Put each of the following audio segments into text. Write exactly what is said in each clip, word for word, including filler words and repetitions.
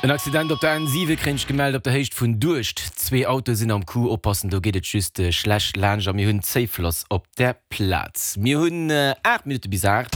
En Accident op der N siwe kréien ech gemellt op der Héicht vun Duerscht. Zwee Autoe sinn am Coup, oppassen, do geet et just schlecht laanscht a mir hunn Zéifloss op der Plaz. Mir hunn aacht Minutte bis aacht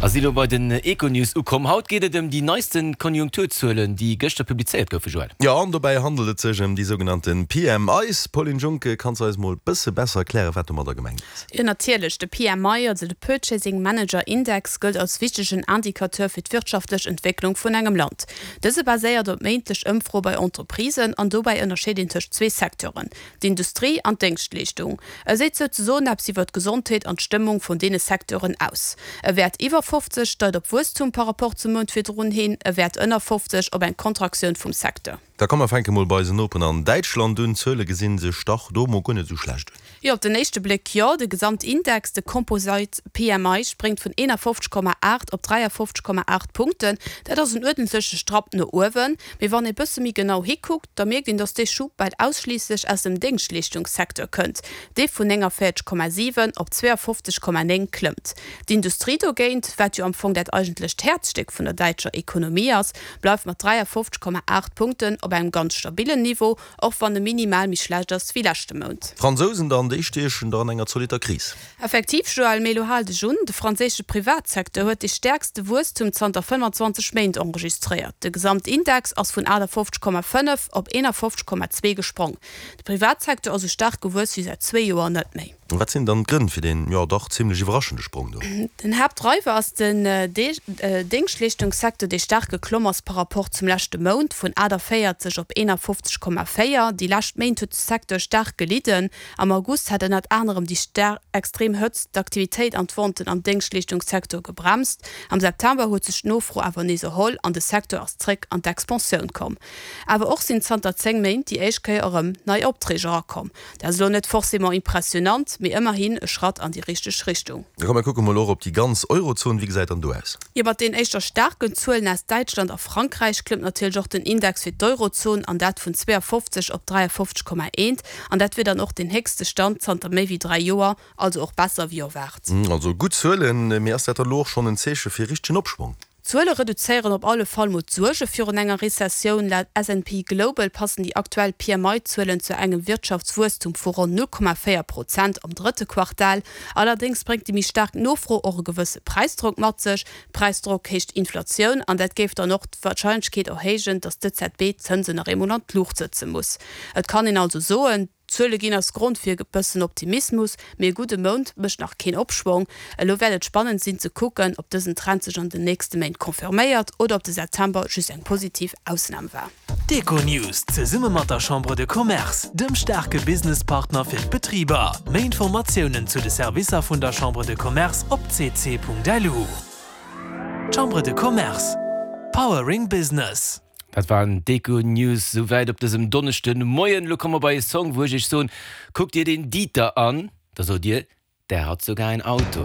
a si lo bei den Econews ukomm. Haut geet et ëm déi neiste Konjunkturzuelen, déi gëschter publizéiert goufen, Joël. Jo, an dobäi handelt et sech ëm déi sougenannte P M Is. Pauline Junck, kanns du eis mol bësse besser erklären, wat domadder gemengt ass? Jo, natierlech. De P M I, also de Purchasing Manager Index, gëllt als wichtegen Indicateur fir d'wirtschaftlech Entwécklung vun engem Land. Dëse baséiert op méintlech Ëmfroe bei Entreprisen an dobäi ënnerscheet een tëscht zwee Secteuren, d'Industrie an d'Déngschtleeschtung. E seet souzesoen eppes iwwer d'Gesondheet an d'Stëmmung vun deene Secteuren aus. E Wäert iwwer fofzeg deit op Wuesstum par rapport zum Mount virdrun hin, e Wäert ënner fofzeg op eng Kontraktioun vum Secteur. Da komm mer fänke mol bei eisen Noperen an Däitschland un. D'Zuele gesi sech dach do mol guer net esou schlecht un. Jo, op den éischte Bléck jo. De Gesamtindex, de Composite P M I, spréngt vun eenafofzeg Komma aacht op dräiafofzeg Komma aacht Punkten. Dat ass en uerdentleche Strapp no uewen. Mee wann ee bësse méi genau hikuckt, da mierkt een, datt dee Schub bal ausschliisslech aus dem Déngschtleeschtungssecteur kënnt, dee vun néngavéierzeg Komma siwen op zweeafofzeg Komma néng klëmmt. D'Industrie dogéint, wat jo am Fong dat eigentlecht Häerzstéck vun der däitscher Ekonomie ass, bleift mat dräiafofzeg Komma aacht Punkten op engem ganz stabillen Niveau, och wann e minimal méi schlecht ass wéi leschte Mount. D'Fransousen dann, déi stiechen dach an enger zolitter Kris. Effektiv, Joël, mee elo hal dech un, De franséische Privatsecteur huet dee stäerkste Wuesstum zanter fënnfanzwanzeg Méint enregistréiert. De Gesamtindex ass vun aachtafofzeg Komma fënnef op eenafofzeg Komma zwee gesprong. De Privatsecteur ass esou staark gewuess wéi säit zwee Joer net méi. Wat sinn dann d'Grënn fir deen, jo dach zimlech iwwerraschende Sprong do? Den Haaptdreiwer ass den Déngschtleeschtungssecteur, dee staark geklomm ass par rapport zum leschte Mount, vun aachtavéierzeg op eenafofzeg Komma véier. Déi lescht Méint huet de Secteur staark gelidden. Am August hat ënnert anerem déi extrem Hëtzt d'Aktivitéit an d'Venten am Déngschtleeschtungssecteur gebremst. Am September huet sech d'Nofro awer nees erholl an de Secteur ass zréck an d'Expansioun komm. Awer och sinn zanter zéng Méint déi éischt Kéier erëm nei Opträg erakomm. Dat ass elo net forcément impressionant, mee ëmmerhin e Schratt an déi richteg Richtung. Da komm mer kucke mol och op déi ganz Eurozon. Wéi gesäit dann do aus? Jo, mat den éischter staarken Zuelen aus Däitschland a Frankräich klëmmt natierlech och den Index fir d'Eurozon, an dat vun zweeafofzeg op dräiafofzeg Komma eent. An dat wier dann och den héchste Stand zanter méi wéi dräi Joer, also och besser wéi erwaart. Also gutt Zuelen, mee ass dat dann elo och schonn en Zeeche fir richtegen Opschwong? D'Zuele reduzéieren op alle Fall mol d'Suerge virun enger Rezessioun. Laut S and P Global passen déi aktuell P M I-Zuelen zu engem Wirtschaftswuesstum vu ronn null Komma véier Prozent am drëtte Quartal. Allerdéngs bréngt déi méi staark Nofro och e gewësse Präisdrock mat sech. Präisdrock heescht Inflatioun, an dat géif dann och d'Warscheinlechkeet erhéijen, datt d'E Z B d'Zënsen nach eemol an d'Luucht setze muss. Et kann een also soen, d'Zuele ginn eis Grond fir e bëssen Optimismus, mee e gudde Mount mécht nach keen Opschwong. Elo wäert et spannend sinn ze kucken, ob dësen Trend sech an den nächste Méint confirméiert oder ob de September just eng positiv Ausnam war. D'Econews zesumme mat der Chambre de Commerce, dem staarke Businesspartner fir d'Betriber. Méi Informatiounen zu de Servicer vun der Chambre de Commerce op C C Punkt L U. Chambre de Commerce, Powering Business. Dat waren d'Econews souwäit op dësem Donneschden Moien. Lo komme mer bei e Song, wou ech iech soen, kuck dir den Dieter an, da sot dir, der hat sogar ein Auto.